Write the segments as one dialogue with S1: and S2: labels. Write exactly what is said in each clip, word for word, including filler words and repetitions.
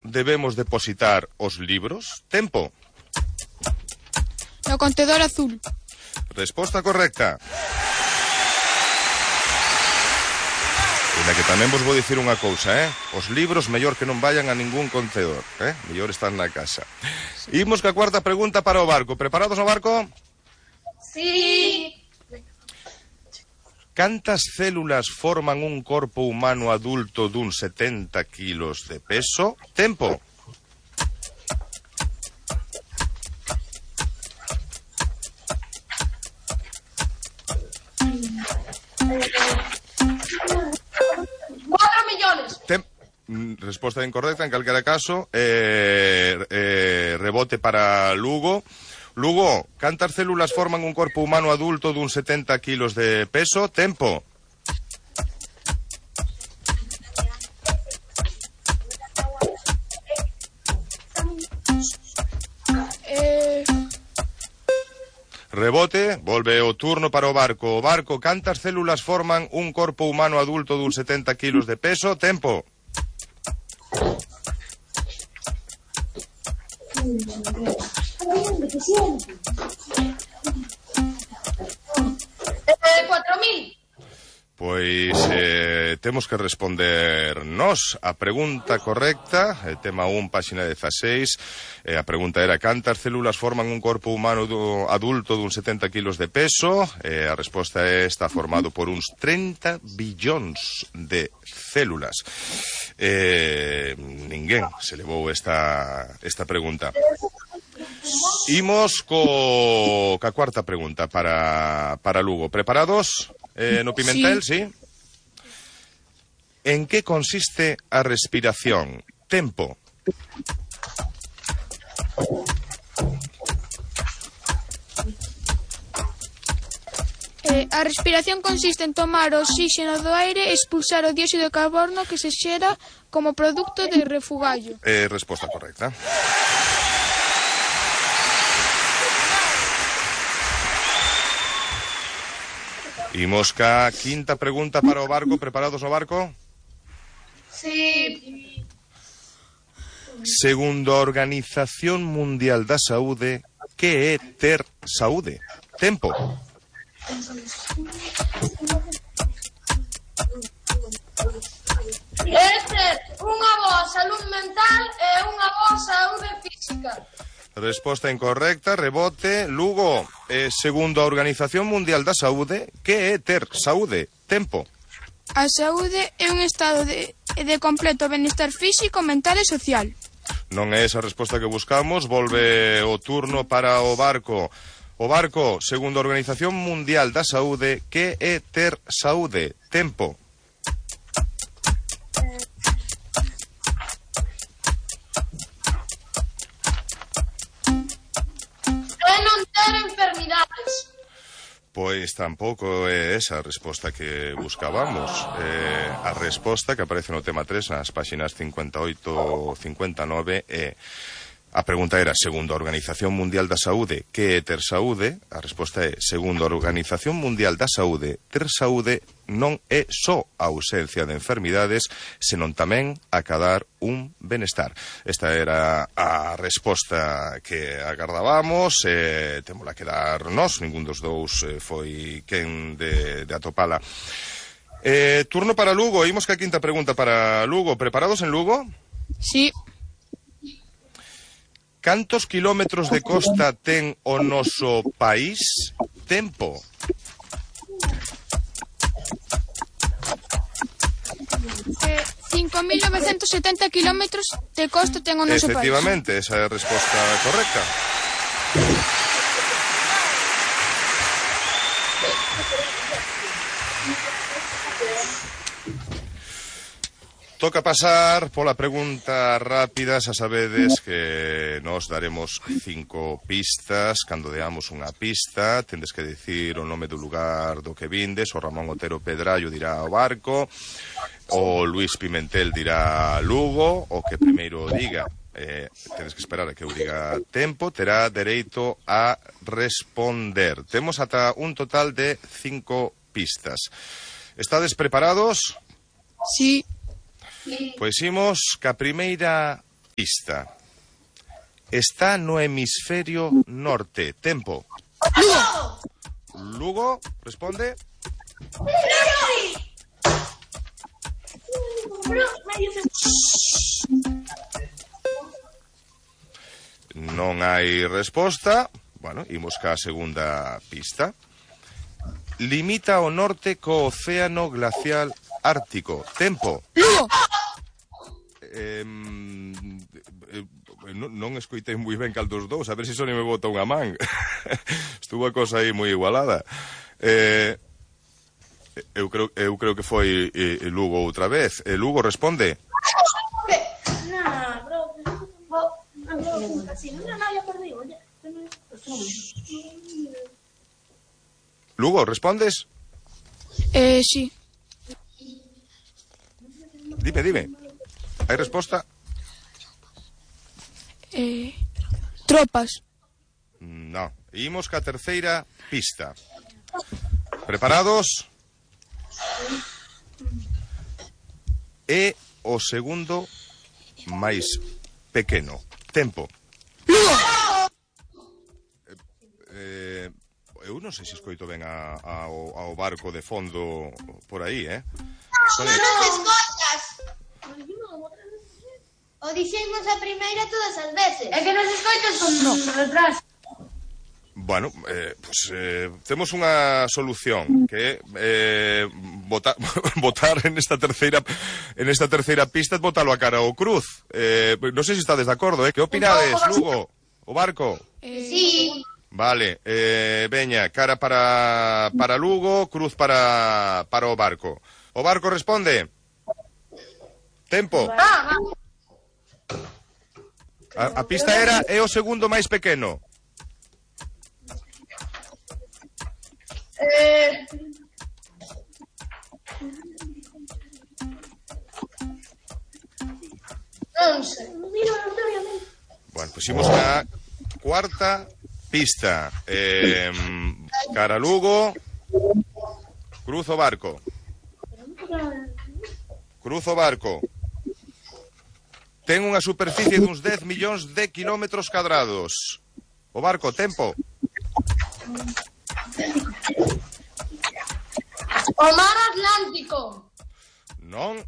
S1: debemos depositar os libros? Tempo.
S2: No contedor azul.
S1: Resposta correcta. Na que tamén vos vou dicir unha cousa, eh? Os libros mellor que non vayan a ningún contedor, eh? Mellor están na casa. Imos ca cuarta pregunta para o barco. Preparados no barco?
S3: Sí.
S1: Cantas células forman un corpo humano adulto dun setenta kilos de peso? Tempo. Tem Resposta incorrecta en calquera caso. eh, eh, Rebote para Lugo. Lugo, cantas células forman un corpo humano adulto dun setenta kilos de peso? Tempo.
S2: Eh...
S1: Rebote, volve o turno para o barco. O barco, cantas células forman un corpo humano adulto dun setenta kilos de peso? Tempo.
S3: Eh, cuatro mil.
S1: Pois eh, temos que responder nós a pregunta correcta, eh, tema un, páxina dezaseis. eh, A pregunta era: cantas células forman un corpo humano do, adulto dun setenta kilos de peso? eh, A resposta é: está formado por uns trinta billóns de células. eh, Ninguén se levou esta, esta pregunta. Imos co ca cuarta pregunta para, para Lugo. Preparados? Eh, no Pimentel, sí. sí? En que consiste a respiración? Tempo.
S2: Eh, a respiración consiste en tomar o oxígeno do aire e expulsar o dióxido de carbono que se xera como produto de refugallo.
S1: Eh, resposta correcta. Imos ca quinta pregunta para o barco. Preparados no barco?
S3: Sí.
S1: Segundo a Organización Mundial da Saúde, que é ter saúde? Tempo.
S3: É ter unha boa saúde mental e unha boa saúde física.
S1: Resposta incorrecta. Rebote. Lugo, eh, segundo a Organización Mundial da Saúde, que é ter saúde? Tempo.
S2: A saúde é un estado de, de completo benestar físico, mental e social.
S1: Non é esa a resposta que buscamos. Volve o turno para o barco. O barco, segundo a Organización Mundial da Saúde, que é ter saúde? Tempo.
S3: É non ter enfermidades.
S1: Pois tampouco é esa a resposta que buscábamos. Eh, a resposta que aparece no tema tres, nas páxinas cincuenta e oito e cincuenta e nove, é... A pregunta era: segundo a Organización Mundial da Saúde, que é ter saúde? A resposta é: segundo a Organización Mundial da Saúde, ter saúde non é só a ausencia de enfermidades, senón tamén acadar un benestar. Esta era a resposta que agardábamos. eh, Témola que dar nós, ningún dos dous eh, foi quen de, de atopala. eh, Turno para Lugo. Imos que a quinta pregunta para Lugo. Preparados en Lugo?
S2: Sí.
S1: Cantos kilómetros de costa ten o noso país? Tempo.
S2: Eh, cinco mil novecentos setenta kilómetros de costa ten o noso país.
S1: Efectivamente, esa é a resposta correcta. Toca pasar pola pregunta rápida. Xa sabedes que nos daremos cinco pistas. Cando deamos unha pista, tendes que dicir o nome do lugar do que vindes. O Ramón Otero Pedrallo dirá o barco, o Luís Pimentel dirá Lugo. O que primeiro diga, eh, tedes que esperar a que eu diga tempo, terá dereito a responder. Temos ata un total de cinco pistas. Estades preparados?
S2: Sí.
S1: Pois imos ca primeira pista. Está no hemisferio norte. Tempo.
S2: Lugo.
S1: Lugo, responde. Non hai resposta. Bueno, imos ca segunda pista. Limita ao norte co océano glacial ártico. Tempo.
S2: Lugo.
S1: Eh, non, non escoitei moi ben cal dos dous, a ver se só me bota unha man. Estuvo a cosa aí moi igualada. Eh, eu creo eu creo que foi eh, Lugo outra vez. Eh, Lugo responde. Lugo, respondes?
S2: Eh, sí.
S1: Dime, dime. Hai resposta?
S2: Eh, tropas.
S1: No. Imos ca terceira pista. Preparados? É o segundo máis pequeno. Tempo. Eh, eu non sei se escoito ben a, a, ao, ao barco de fondo por aí, eh?
S3: Non nos escoitas. O dixemos a primeira todas as veces. É que nos escoitas con retraso.
S1: Bueno, eh, pues, eh, temos unha solución que é eh, votar, votar en esta terceira en esta terceira pista, botalo a cara ao cruz. Eh, non sei se estades de acordo, eh? Que opinades, Lugo? O barco?
S2: Eh,
S3: Sí.
S1: Vale, eh, veña, cara para para Lugo, cruz para para o barco. O barco responde. Tempo.
S3: Ah,
S1: A, a pista era é o segundo máis pequeno.
S3: Eh... Non sei.
S1: Bueno, pues imos a cuarta pista. Eh, cara Lugo, cruz o barco. Cruz o barco. Ten unha superficie duns dez millóns de kilómetros cadrados. O barco, tempo.
S3: O mar Atlántico.
S1: Non.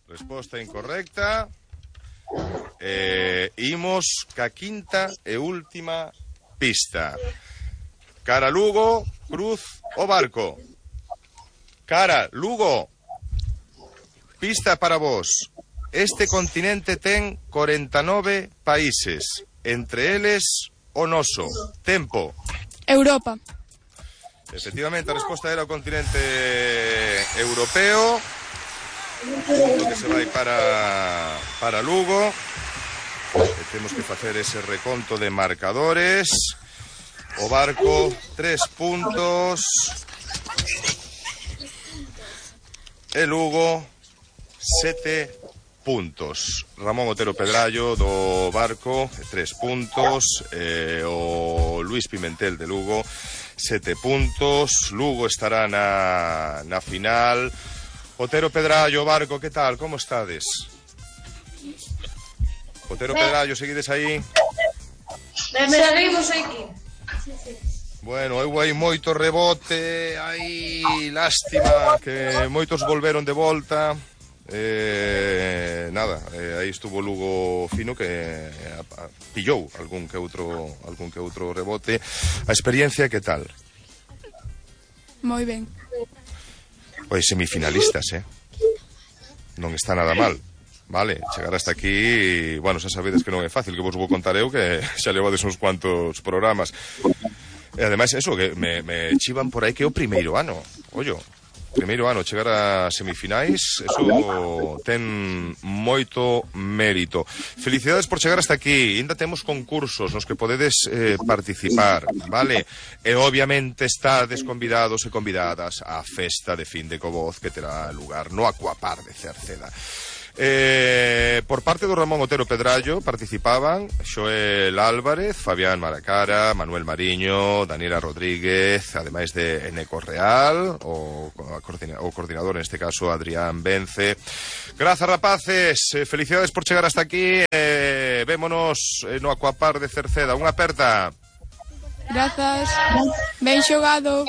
S1: Resposta incorrecta. Eh, imos ca quinta e última pista. Cara Lugo, cruz o barco. Cara Lugo. Pista para vos. Este continente ten corenta e nove países, entre eles o noso. Tempo.
S2: Europa.
S1: Efectivamente, a resposta era o continente europeo. Punto que se vai para para Lugo. E temos que facer ese reconto de marcadores. O barco, tres puntos. E Lugo, sete puntos. Ramón Otero Pedrallo do barco, tres puntos. Eh, o Luis Pimentel de Lugo, sete puntos. Lugo estará na, na final. Otero Pedrallo, barco, que tal? Como estades? Otero Pedrallo, seguides aí?
S3: Seguimos aquí.
S1: Bueno, eu hai moito rebote, hai lástima que moitos volveron de volta. Eh, nada, eh, aí estuvo Lugo fino que eh, a, a, pillou algún que outro algún que outro rebote. A experiencia que tal?
S2: Moi ben.
S1: Pois semifinalistas, eh. Non está nada mal. Vale, chegar hasta aquí, bueno, xa sabedes que non é fácil, que vos vou contar eu que xa levades uns cuantos programas. E ademais eso, que me, me chivan por aí que é o primeiro ano. Ollo, primeiro ano chegar a semifinais, eso ten moito mérito. Felicidades por chegar hasta aquí. Ainda temos concursos nos que podedes eh, participar, vale? E obviamente estades convidados e convidadas á festa de fin de Covoz que terá lugar no Aquapar de Cerceda. Eh, por parte do Ramón Otero Pedrallo participaban Xoel Álvarez, Fabián Maracara, Manuel Mariño, Daniela Rodríguez, ademais de Eneco Real, o, o coordinador, neste caso, Adrián Vence. Grazas, rapaces, eh, felicidades por chegar hasta aquí. Eh, vémonos eh, no Aquapar de Cerceda. Unha aperta.
S2: Grazas. Ben xogado.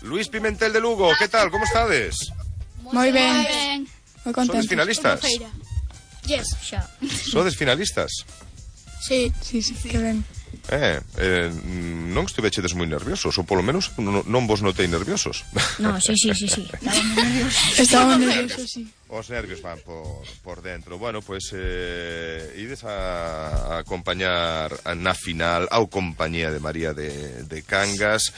S1: Luis Pimentel de Lugo, que tal? Como estades?
S2: Moi ben. Moi contento.
S1: Sodes finalistas?
S2: Yes, xa.
S1: Sodes finalistas?
S2: Sí, sí, sí, que ben.
S1: Eh, eh, non estivechedes moi nerviosos, ou polo menos non, non vos notei nerviosos.
S4: No, sí, sí, sí, sí. Estábamos nerviosos.
S2: Estábamos nerviosos, sí.
S1: Os nervios van por, por dentro. Bueno, pues eh, ides a, a acompañar na final ao compañía de María de, de Cangas.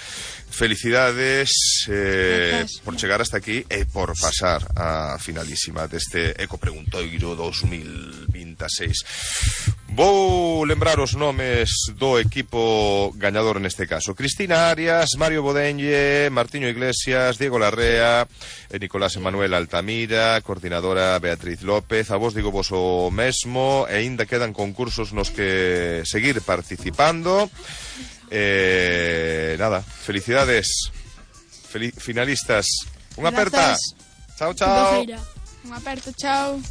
S1: Felicidades eh, por chegar hasta aquí e por pasar a finalísima deste Ecopreguntoiro dos mil veintiséis. Vou lembrar os nomes do equipo gañador neste caso: Cristina Arias, Mario Bodenlle, Martiño Iglesias, Diego Larrea e Nicolás Emanuel Altamira, coordinadora Beatriz López. A vos digo vos o mesmo, e ainda quedan concursos nos que seguir participando. Eh, nada, felicidades, Fel finalistas. Unha aperta. Chao, chao.
S2: Unha aperta, chao.